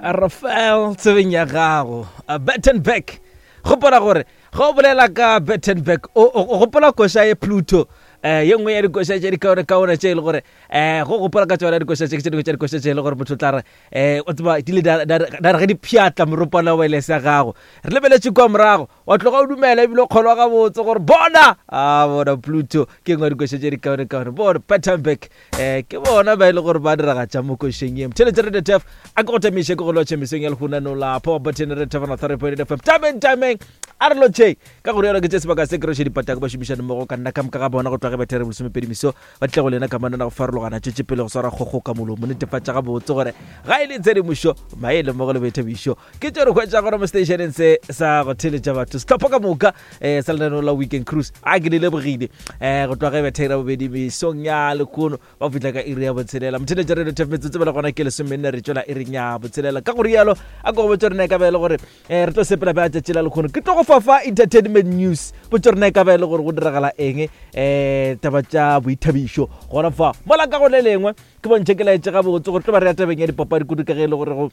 Rafael tsebeng ya gago Bettenberg gopola gore ge o bolela ka Bettenberg o gopola koša ye Pluto um ye nngwe ya dikoša tše dikaonekaone tše e le gore um go gopola ka tsona dikoša tše ke tše dingwe tša dikoša tše e le gore motho o tla re um o tseba di le da re ge di pšhatla moropana wa elese ya gago re lebeletše kwa morago Wa tloga o dumela ebile o kgolwa gabotse gore bona a bona Pluto ke nngwe ya dikoša tše dikaonekaone. Bona Pattenberg eh, ke bona ba e le gore ba diragatša mo košeng ye. Mtheletše Radio Tef a ke go tamiše ke go lotšhe mesong ya lehunano la Power Button Radio Tef on 3.8 FM. Tameng tameng a re lotšheng ka go rialo ke tše sebaka se ke roše dipatako ba šomišane mmogo ka nna ka moka ga bona go tloga ge bethere bolesomepedi meso ba tle go lena ka manana go farologana tšwetše pele go swara kgogo ka molomo netefatša gabotse gore ga e le tshedimošo maele mmogo le boithabišo Ke tšo re hwetša gona mo stationeng se sa go theletša batho sehlopha ka moka um sa lenaneo la Weekend Cruise. A ke le lebogile um go tloga ge betha ira bobedi mesong ya lekono ba fihla ka iri ya botshelela. Motheletša Radio Tef metsotso bela gona ke lesomenne re tšwela iring ya botshelela. Ka go rialo a ko go botša rena e ka ba e le gore um re tlo sepela bja tšatši la lekgono. Ke tlo go fafa entertainment news botša rena e ka ba e le gore go diragala eng um taba tša boithabišo gona fa. Mola ka go le lengwe ke bontšhe ke laetše gabotse gore tlo ba re ya tabeng ya dipapadi kudu ka ge e le gore go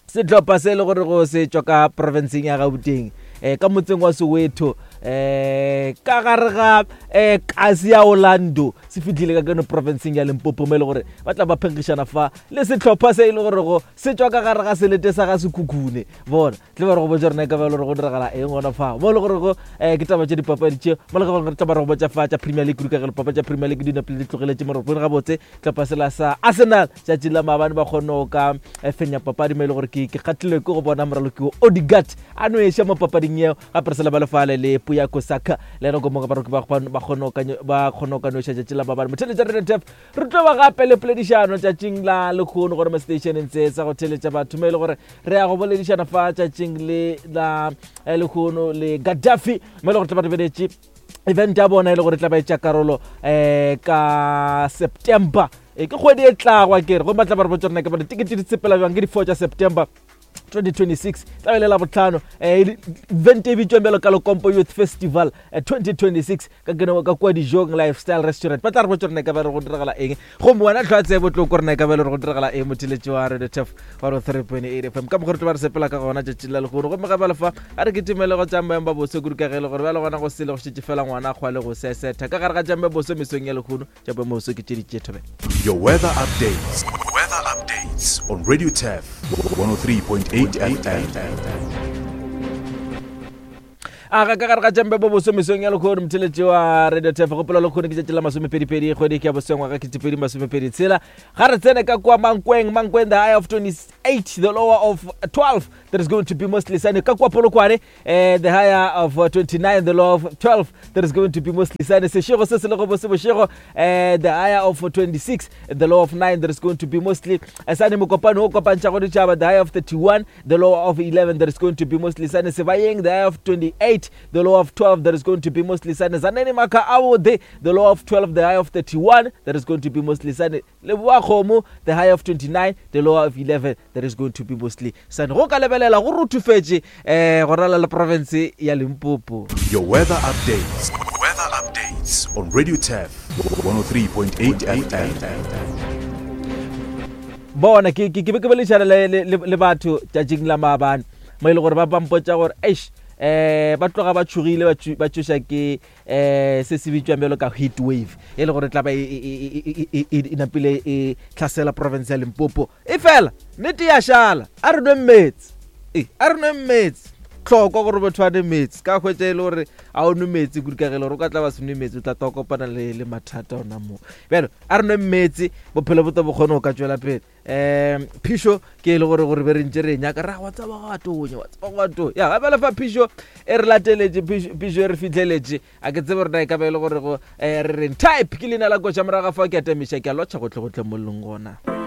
Sehlopha se e le gore go se tšwa ka profenseng ya Gauteng um ka motseng wa Soweto um ka gare ga um kasi ya Orlando se fihlile ka keno profenseng ya Limpopo mo e le gore ba tla ba phenkgišana fa le sehlopha se e le gore go se tšwa ka gare ga selete sa ga Sekhukhune. Bona tle ba re go botša rena e ka ba e le gore go diragala eng gona fa mo e le gore go um ke taba tše dipapadi tše mo le gore tla ba re go botša fa tša Premier League kudu ka ge dipapadi tša Premier League di napile di tlogeletše moropong gabotse hlopha sela sa Arsenal tšatši la maabane ba kgonne go ka eh, fenya papadi mo e le gore ke ke kgatlhilwe ke go bona moraloki wo Odegaard a nweša mo papading yeo gape re sela ba lefale le Puyako Saka le ena ko baroki ba kgone go ka nweša tšatši la maabane. Motheletša Radio Tef re tlo ba gape le poledišano tšatšing la lekgono gore mo stationeng se sa go theletša batho mo e le gore re ya go boledišana fa tšatšing le la eh, lekgono le Gaddafi mo e le gore tla ba lebeletše event ya bona e le gore tla ba etša karolo um ka September e ke kgwedi e tlagwa ke re gomme ba tla ba re botsa rena ke bone tikete di sepela bjang ke di-four tša September 2026 tla be le la botlhano um event e bitswang bjalo ka Lekompo Youth Festival 2026 ka keno ka kua Dijong Lifestyle Restaurant. Ba tla re botsa rena ka ba re go diragala eng gomme wena tlhwa tsebo tlo ko rena ka ba le gore go diragala eng motheletši wa Radio Tef 103.8 FM ka mokgwa re tlo ba re sepela ka gona tšatši la lehono gomme ga ba lefa a re kitimele go tša ba boso kudu ka ge e le gore bjale gona go sele go šetše fela ngwana a kgwa le go sesetha ka gare ga tša boso mesong ya lehono tša boso ke tše di tše thobela. Your weather updates. Weather updates on Radio Tef 103.8 FM. A ga ka gare ga tšampe bo boso mesong ya lekgono motheletši wa Radio Tef gopola lekgono ke tšatši la masomepedipedi kgwedi ke ya bosengwaga ketepedi masomepedi tshela ga re tsene ka kua Mankweng Mankweng the high of 28 the lower of 12 there is going to be mostly sunny ka kua Polokwane eh, the higher of 29 the lower of 12 there is going to be mostly sunny sešego se se lego bose bošego eh, the higher of 26 the lower of 9 there is going to be mostly eh, sunny mokopano o kopantšhago ditšhaba the higher of 31 the lower of 11 there is going to be mostly sunny Sebayeng the higher of 28 the lower of 12 there is going to be mostly sunny Zaneni Maka Awode the lower of 12 the higher of 31 there is going to be mostly sunny Leboa-Kgomo the higher of 29 the lower of 11 there is going to be mostly sunny go ka lebelela go ruthufetše eh go rala le province ya Limpopo. Your weather updates. Weather updates on Radio Tef 103.8 FM. Bona ke ke be ke boledišana le, le, le, le batho tšatšing la maabane mo e le gore ba ba mpotša gore eish eh ba tloga ba tšhogile ba tšo- ba tšoša ke eh se se bitšwang bjalo ka heat wave e le gore tla ba e, e, e, e, e, e, e napile e tlhasela province ya Limpopo e fela nnete ya šala a re nweng meetse e a re nweng meetse tlhokwa gore motho a nwe meetse ka hwetša e le gore a o nwe meetse kudu ka ge e le gore o ka tla ba se nwe meetse o tla tla kopana le, le mathata ona moo bjalo a re nweng meetse bophelo bo tlo bo kgone go ka tšwela pele um phišo ke e le gore gore be re ntše re e nyaka ra wa tseba go atonya wa tseba go atonya ya gape lefa phišo e re lateletše phišo e re fihleletše a ke tsebe rena e ka ba e le gore go um re reng type ke leina la koša morago ga fao ke atamiša ke a lotšha gotlhe gotlhe mo leng gona.